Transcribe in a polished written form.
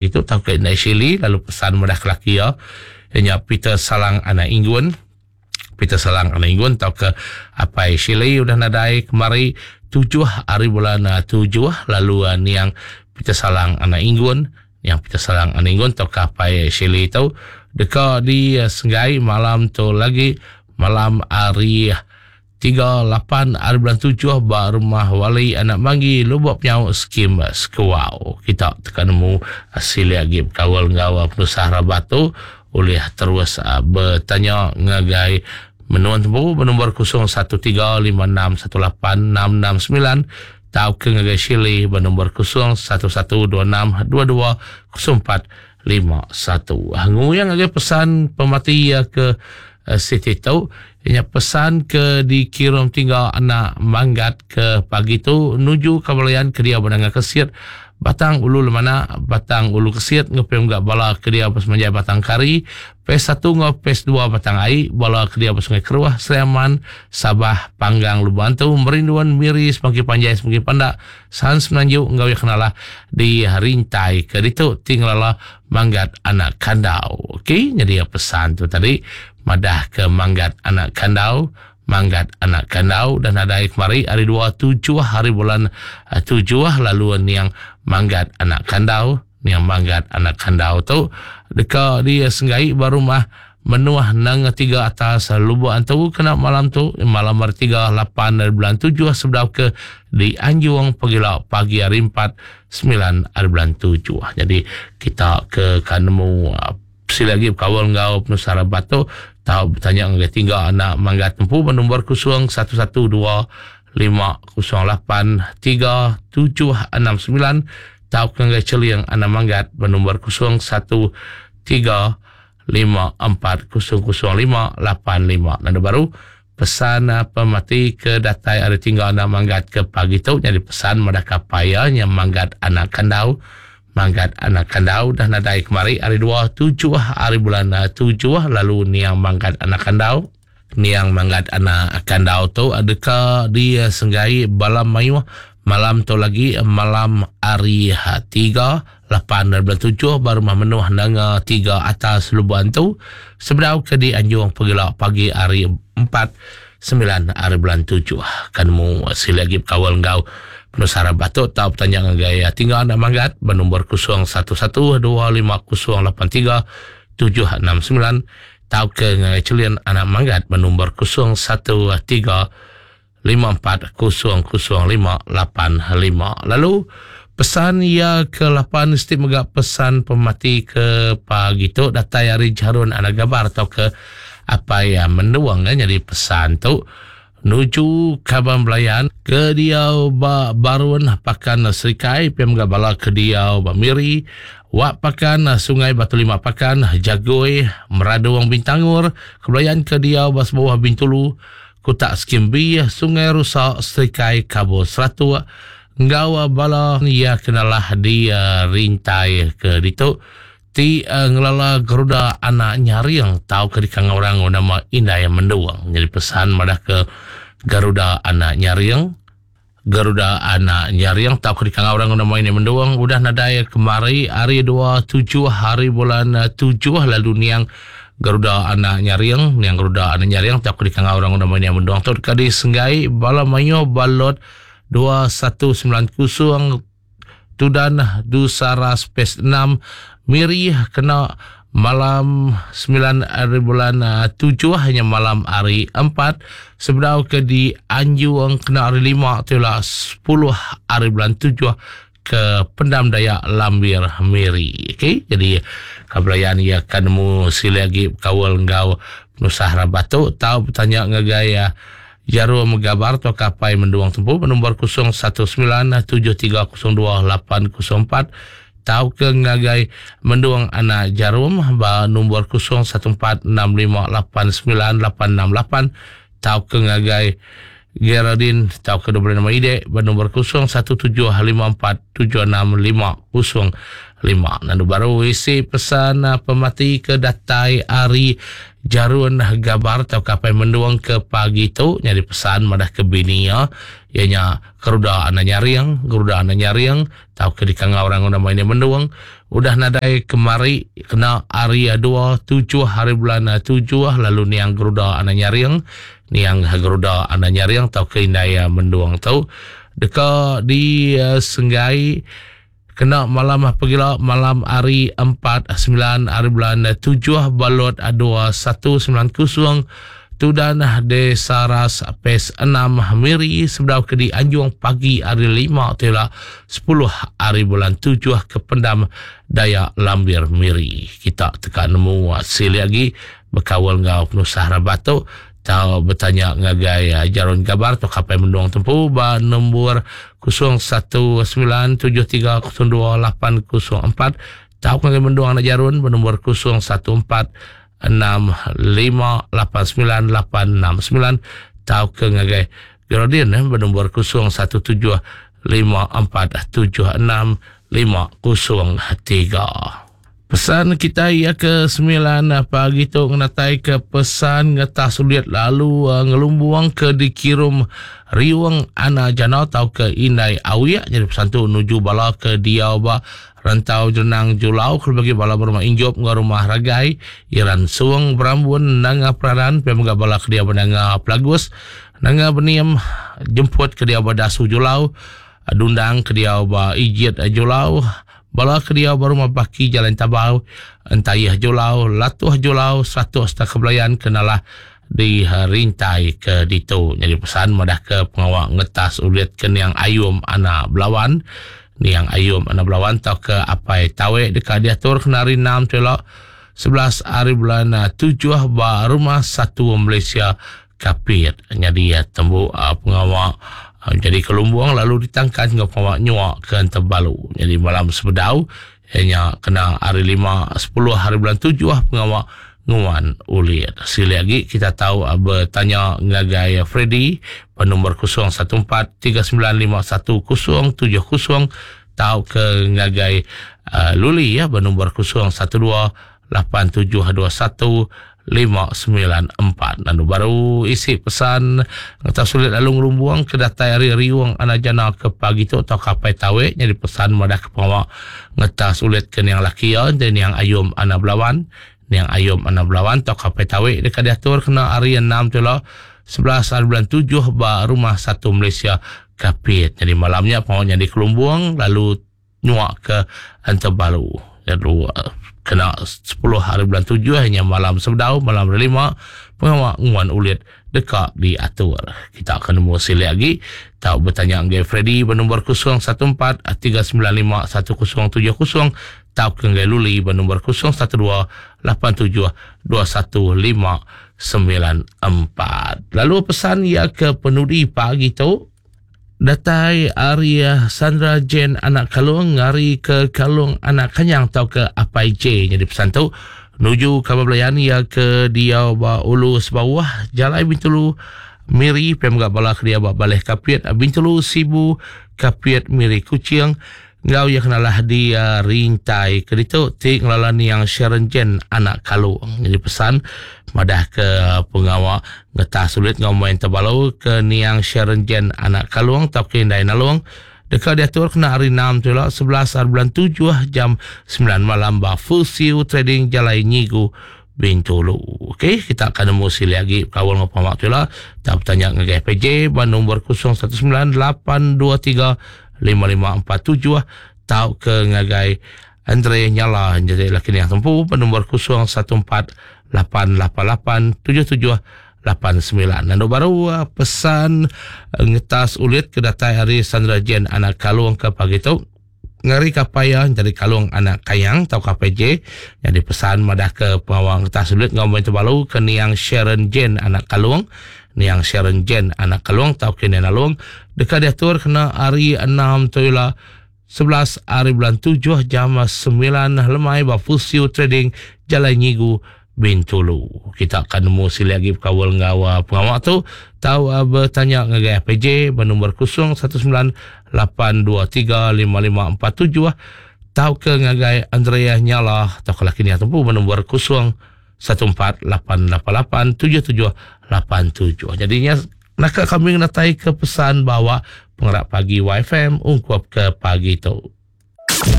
Itu tauka indai Shirley lalu pesan madah ke laki iya iya nya Peter Salang anak Inggun. Peter Salang anak Inggun tauka apai Shirley udah nadai kemari tujuh hari bulan ah, tujuh lalu ah, niang Peter Salang anak Inggun niang Peter Salang anak Inggun tauka apai Shirley tu deka disenggai malam tu lagi malam hari Tiga lapan ari bulan tujuh ba Rumah Wali Anak Manggi Lubok Penyau Skim Sekuau. Kita teka nemu silik agi bekaul enggau penusah rabat tu ulih terus betanya ngagai menua tembu ba nombor 0135618669 tauka ngagai Shirley ba nombor 01126220 451. Nguyang ngagai pesan pemati iya ke siti tu inya pesan ke dikirum tinggal anak manggat ke pagi tu nuju kabalayan ke diau benanga kesit Batang Ulu Lemana, Batang Ulu Kesit ngepim ga bala ke diau ba semanjai Batang Kari, Phase satu enggau Phase dua Batang Ai, bala ke diau ba Sungai Keruh, Sri Aman, Sabah, Panggang, Lubok Antu, Merinduan, Miri, Semangki Panjai, Semangki Pandak, San Semenanjung enggau iya kenalah di rintai ke ditu ti ngelala Manggat Anak Kandau. Okey, nyadi pesan tu tadi madah ke Manggat Anak Kandau, Manggat Anak Kandau dah nadai kemari hari dua tujuh hari bulan eh, tujuh lalu niang Manggat Anak Kandau, niang Manggat Anak Kandau tu deka disenggai ba rumah Menuh nanga tiga atas Lubok Antu kena malam tu malam hari tiga lapan hari bulan tujuh sebedau ke dianjung pegila pagi hari empat semilan hari bulan tujuh. Jadi kita ke ka nemu sila agi bekaul enggau penusah rabat tu tau betanya ngagai tingga anak manggat empu ba nombor 0112 508 3769 tauka ngagai Cheling anak manggat ba nombor 013 5400585. Lalu baru pesan ah, pemati ke datai ari tinggal anak manggat ke pagi tu nyadi pesan madah kapai iya nya manggat anak kandau. Manggat anak kandau dah nadai kemari hari dua tujuh hari bulan ah, tujuh lalu niang manggat anak kandau. Niang manggat anak kandau tu deka disenggai bala mayuh malam tu lagi malam hari tiga lapan dari bulan tujuh ba rumah menuh nanga tiga atas Lubok Antu sebedau ke dianjung pegila pagi hari empat sembilan hari bulan tujuh. Kan nemu sila agi bekaul enggau penusah rabah tu tau betanya ngagai tinggal anak manggat ba nombor 011 250 83 769 tauka ngagai Chelin anak Manggat ba nombor 013 5400585. Lalu pesan iya ke lapan mesti mega pesan pemati ke pagi tu datai ari Jarun anak Gabar tauka apai Mendung eh, nyadi pesan tu nuju kaban belayan ke diau ba Barun Pakan Serikai pia mega bala ke diau ba Miri Wak Pakan Sungai Batu Lima Pakan Jagoi Meradong Bintangor kebelayan ke diau ba Sebuah Bintulu Kutak Skim B Sungai Rusa Serikai Kabul Seratuk enggau bala iya kenalah di rintai ke ditu ti ngelala Garuda anak Nyaring tauka dikangau orang enggau nama Indai Mendung. Nyadi pesan madah ke Garuda anak Nyaring, Garuda anak Nyaring tauka dikangau orang enggau nama Indai Mendung udah nadai kemari hari dua tujuh hari bulan tujuh lalu niang Garuda anak Nyaring, niang Garuda anak Nyaring tauka dikangau orang enggau nama Indai Mendung tu deka disenggai bala mayuh ba lot 2190 Tudan Dusara Space 6 Miri kena malam 9 hari bulan 7 hanya malam hari 4 sebedau ke di Anjung kena hari 5 tu lah 10 hari bulan 7 ke Pendam Dayak Lambir Miri. Okey, jadi kabelayan ia akan nemu sila lagi berkawal enggau penusah rabat tu tau bertanya ngagai uh, Jarum Gabar tauka apai Mendung Tempu ba nombor 0197302804 tauka ngagai Mendung Anak Jarum ba nombor 0146589868 tauka ngagai Geraldine tauka diberi nama Idek ba nombor 0175476505. 5. Lalu baru isi pesan pemati ke datai ari Jarun Gabar tauka Apai Mendung ke pagi tu nyadi pesan madah ke bini iya, iya nya Keruda Anak Nyaring, Geruda Anak Nyaring tauka dikangau orang nama Ini Mendung udah nadai kemari kena hari dua tujuh hari bulan tujuh lalu niang Geruda Anak Nyaring, niang Geruda Anak Nyaring tauka Indai Mendung tu deka disenggai Kena malam pegila malam hari empat semilan hari bulan tujuh ba lot 2190 Tudan Desa Ras Pes enam Miri sebedau ke dianjung pagi hari lima tu ila sepuluh hari bulan tujuh ke Pendam Dayak Lambir Miri. Kita teka nemu silik agi bekaul enggau penusah rabat tu tau betanya ngagai Jarun Gabar tauka Apai Mendung Tempu ba nombor 0197302804 tauka ngagai Mendung anak Jarun ba nombor 0146589869 tauka ngagai Geraldine ba nombor 0175476503. Pesan kitai iya ke semilan pagi tu ngenatai ke pesan ngetah sulit lalu ngelumbung ke dikirum Riung Ana Jana tauka Indai Awik nyadi pesan tu nuju bala ke diau ba Rantau Jerenang Julau kelebih agi bala ba Rumah Injop enggau Rumah Ragai, Iran Sung, Berambun, Nanga Peraran pia mega bala ke diau ba Nanga Pelagus, Nanga Benim, Jemput ke diau ba Dasu Julau, Dundang ke diau ba Ijit Julau, Bala ke diau ba Rumah Baki Jalan Tabau, Entayih Julau, Latuh Julau, Satok sereta Kebelayan ke nalah di rintai ke ditu. Nyadi pesan madahka pengawa ngetas ulit ke niang Ayum anak Belawan. Niang Ayum anak Belawan tauka Apai Tawek deka diatur kena hari enam tu ila, 11 hari bulan tujuh ba Rumah Satu Malaysia Kapit. Nyadi tembu pengawa jadi kelumbung lalu ditangkan enggau pengawa nyua ke Entebalu. Nyadi malam sebedau iya nya kena hari lima sepuluh hari bulan tujuh pengawa nguan ulit. Silik agi kita tau betanya ngagai Freddy ba nombor 014 3951 070 tauka ngagai Luli ba nombor 012 8721 594. Lalu baru isi pesan ngetau sulit lalu ngelumbung ke datai ari Riung Anak Jana ke pagi tu tauka Apai Tawek nyadi pesan madah ke pengawa ngetas ulit ke niang laki iya enti niang Ayum Anak Belawan. Niang Ayum Anak Belawan tauka Apai Tawek deka diatur kena hari enam tu ila 11 hari bulan tujuh ba Rumah Satu Malaysia Kapit. Nyadi malam nya pengawa nyadi kelumbung lalu nyuak ke Entebalu. Lalu kena 10 hari bulan 7 nya malam sebedau malam hari lima pengawa nguan ulit deka diatur. Kita akan nemu silik agi tau betanya ngagai Freddy ba nombor 014 395 1070 tauka ngagai Luli ba nombor 012 87 21 594. Lalu pesan iya ke penudi pagi tu Datai ari Sandra Jane anak Kalong ngari ke Kalong anak Kanyang tauka Apai J nyadi pesan tu nuju kaban belayan iya ke diau ba Ulu Sebauh Jalai Bintulu Miri pia mega bala ke diau ba Baleh Kapit Bintulu Sibu Kapit Miri Kuching enggau iya kenalah di rintai ke ditu ti ngelala niang Sharon Jen anak Kalong. Nyadi pesan madah ke pengawa ngetah sulit enggau main tebalu ke niang Sharon Jen anak Kalong tauka indai Nalong deka diatur kena hari enam tu ila 11 hari bulan tujuh jam 9 malam ba Full Siu Trading Jalai Nyigu Bintulu. Okey, kita akan nemu silik agi bekaul enggau pengawa tu ila. Tau betanya ngagai PJ ba nombor 019 823 5547 tauka ngagai Andre Nyala jadi laki niang tempu ba nombor 014 888 7789. Nandu baru eh, pesan eh, ngetas ulit ke datai ari Sandra Jane anak Kalung ke pagi tu ngari kapai iya jadi Kalung anak Kayang tauka kapai J jadi pesan madah ke pengawa ngetas ulit enggau main tebalu ke niang Sharon Jane anak Kalung Niang Sharon Jane anak Kalong tauka Niang Nalong deka diatur kena hari enam tu ila 11 hari bulan 7 jam 9 lemai ba Fusiu Trading Jalai Nyigu Bintulu. Kita akan nemu silik agi bekaul enggau uh, pengawa tu tau uh, bertanya ngagai APJ ba nombor 019 823 5547. Tauka ngagai Andrea Nyala tauka laki niang tempu ba nombor 0148887787. Jadi nya naka kami ngenatai ke pesan bawa pengerak pagi YFM ungkup ke pagi tu.